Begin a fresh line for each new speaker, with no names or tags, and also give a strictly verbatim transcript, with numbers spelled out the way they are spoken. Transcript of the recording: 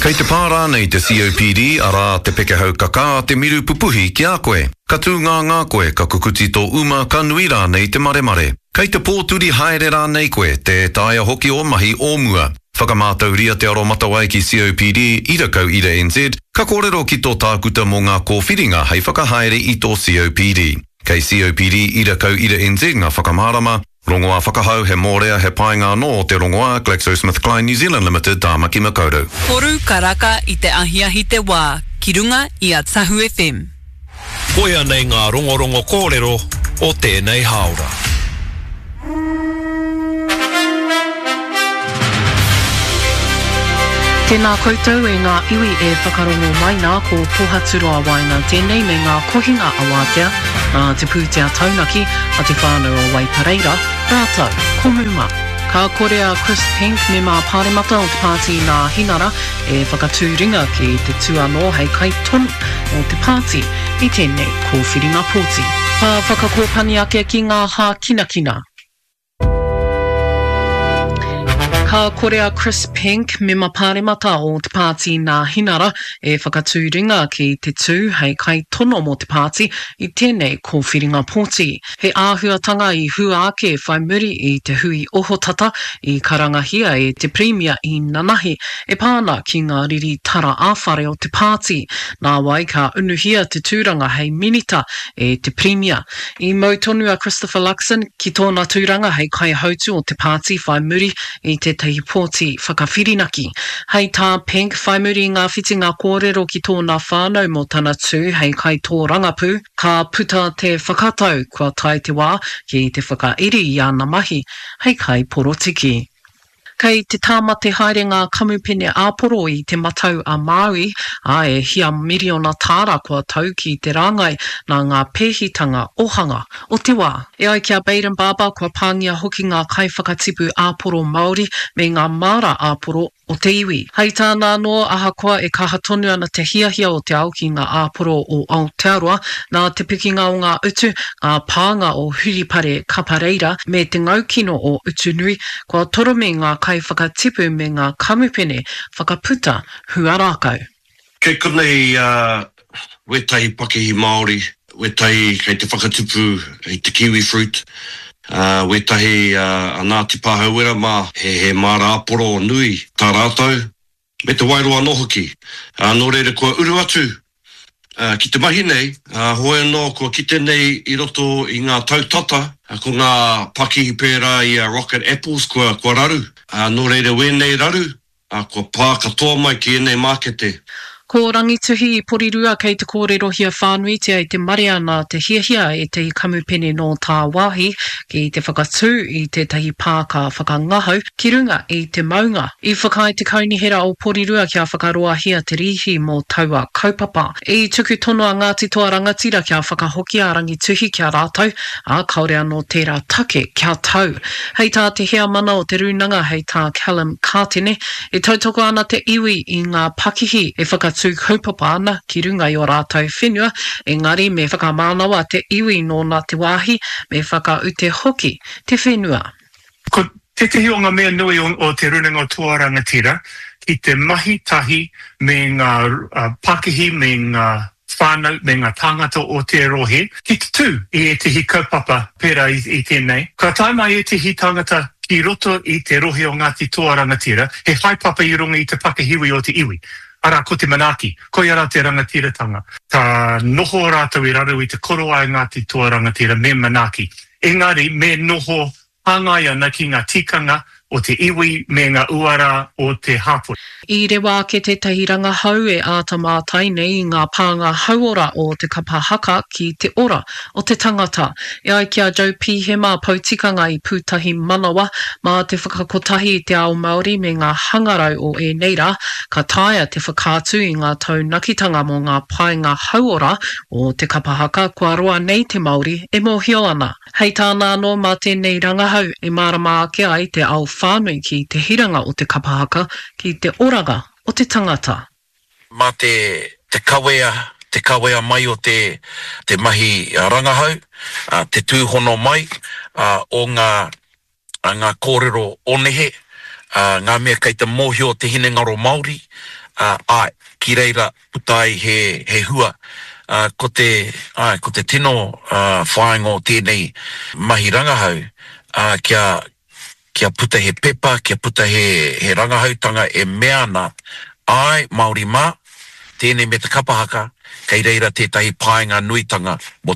Kei te pā rānei te C O P D, arā te pekehau kakā, te miru pupuhi ki a koe? Ka tūngāngā koe, ka kukuti tō uma, ka nui rānei te maremare. Kei te pōturi haere rānei koe, tē taea hoki ō mahi o mua. Whakamātauria te aromatawai ki C O P D, ira kau ira N Z, ka kōrero ki tō tākuta mō ngā kōwhiringa hei whakahaere i tō C O P D. Kei C O P D ira kau ira N Z ngā whakamārama, rongoā whakahau, he mōrea, he painga anō te rongoā, GlaxoSmithKline New Zealand Limited, Tāmaki Makaurau.
Toru karaka i te ahiahi te wā, ki runga i a Tahu F M.
Koia nei ngā rongorongo kōrero o tēnei hāora.
Tēnā koutou e ngā iwi e whakarongo mai nā, ko Pohaturoa Waina tēnei me ngā kohinga awātea nā te pūtea taunaki a te whānau o Waipareira rātou ko Muma. Ka kore a Chris Penk, mema pāremata o te pāti Nāhinara, e whakatū ringa ki te tū anō hei kaitono mō te pāti i tēnei kōwhiringa pōti. Ka whakakōpani ake ki ngā hākinakina. Ka kore a Chris Penk, mema pāremata o te pāti Nāhinara, e whakatū ringa ki te tū hei kaitono mō te pāti i tēnei kōwhiringa pōti. He āhuatanga i hua ake whai muri i te hui ohotata i karangahia e te Pirimia i nanahi e pā ana ki ngā riri tara ā-whare o te pāti. Nāwai ka unuhia te tūranga hei minita e te Pirimia. I mau tonu a Christopher Luxon ki tōna tūranga hei kaihautu o te pāti whai muri i tētahi pōti whakawhirinaki. Hei tā Penk, whai muri i ngā whitinga kōrero ki tōna whānau mō tana tū hei kaitōrangapū, ka puta te whakatau kua tae te wā ki te whakairi i ana mahi hei kaiporotiki. Kei te tāmate haere ngā kamupene āporo i Te Matau a Māui, ā, e hia miriona tāra kua tau ki te rāngai nā ngā pēhitanga ohanga o te wā. E ai ki a Bayden Barber, kua pāngia hoki ngā kaiwhakatipu āporo Māori me ngā māra āporo o te iwi. Hei tāna anō, ahakoa e kaha tonu ana te hiahia o te ao ki ngā āporo o Aotearoa, nā te pikinga o ngā utu, ngā pānga o Huripare Kapareira me te ngaukino o Utunui, kua toromi ngā kaiwhakatipu me ngā kamupene whakaputa huarākau.
Kei konei wētahi pakihi Māori, wētahi kei te whakatupu i te kiwi fruit, wētahi a Ngāti Pāhauwera mā, he māra āporo nui tā rātou, me te Wairoa anō hoki. Nō reira kua uru atu ki te mahi nei, hoi anō kua kite nei i roto i ngā tau tata, ko ngā pakihi pērā i a Rocket Apples kua raru. Nō reira wēnei raru, kua pā katoa mai ki ēnei mākete.
Ko Rangituhi i Porirua kei te kōrerohia whānuitia e te marea nā te hiahia ētahi kamupene nō tāwāhi ki te whakatū i tētahi pāka whakangahau ki runga i te maunga. I whakaae te Kaunihera o Porirua kia whakaroahia te rīhi mō taua kaupapa. I tuku tono a Ngāti Toa Rangatira kia whakahokia a Rangituhi ki a rātou, ā, kāore anō tērā take kia tau. Hei tā te heamana o te rūnanga hei tā Callum Kātene, e tautoko ana te iwi i ngā pakihi e whakatū kaupapa ana ki runga i ō rātou whenua, engari me whakamānawa te iwi nōna te wāhi, me whakaute hoki te whenua.
Ko tētehi o ngā mea nui o Te Rūnanga o Toa Rangatira ki te mahi tahi me ngā pakihi me ngā whānau me ngā tāngata o te rohe ki te tū i ētehi kaupapa pērā i tēnei. Ka tae mai ētehi tāngata ki roto i te rohe o Ngāti Toa Rangatira, he haepapa i runga i te pakihiwi o te iwi, arā ko te manaaki, koia rā te rangatiratanga. Ka noho rātou i raro i te korowai Ngāti Toa Rangatira me manaaki, engari me noho hāngai ana ki ngā tikanga o te iwi me ngā uara o te hapori.
I rewa ake tētahi rangahau e āta mātai nei i ngā pānga hauora o te kapa haka ki te ora o te tangata. E ai ki a Joe Pihema, poutikanga i Pūtahi Manawa, mā te whakakotahi i te ao Māori me ngā hangarau o ēnei rā, ka taea te whakaatu i ngā taunakitanga mō ngā painga hauora o te kapa haka kua roa nei te Māori e mōhio ana. Hei tāna anō, mā tēnei rangahau e mārama ake ai te ao whānui ki te hiranga o te kapa haka ki te oranga o te tangata.
Mā te te kawea, te kawea mai o te te mahi rangahau, te tūhono mai o ngā ngā kōrero o nehe,
ā, ngā mea kei te mōhio te hinengaro Māori, ā, āe, ki reira puta ai he, he hua. Ā, ko te, āe, ko te tino, ā, whāinga o tēnei mahi rangahau, ā, kia, kia puta he pepa, kia puta he, he rangahautanga e mea ana, āe, Māori mā, tēnei me te kapa haka, kei reira tētahi painga nuitanga mō te